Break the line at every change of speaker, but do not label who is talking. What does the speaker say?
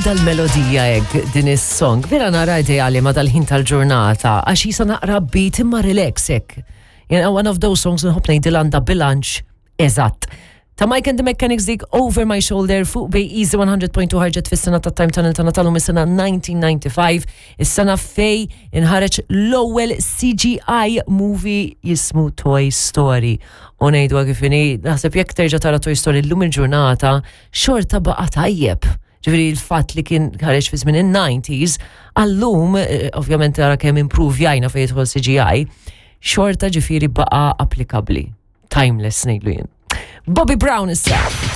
Dal-melodija hekk din is-song vera nara ideali ma dal-ħin tal-ġurnata għax jisa naqra beat imma relax hekk. Jena one of those songs nħobb ngħidil għandha bilanċ eżatt. Ta' Mike and the Mechanics dik Over My Shoulder fuq Bay Easy 100.2 ħarġet fis-sena ta' Time Tunnel ta' Natalum is-sena 1995, is-sena fej inħareġ l-ewwel CGI movie jismu Toy Story. U ngħidu kif inhi, naħseb jekk terġa' tara Toy Story llum il-ġurnata, xorta baqa' tajjeb. Ġifieri l-fatt li kien ħareġ fi żmien in-90s, għallum, eh, ovvjament tara kemm improvjajna fejn jidħol CGI, xorta ġifieri baqa' applikabbli. Timeless ngħidlu jien. Bobby Brown issa.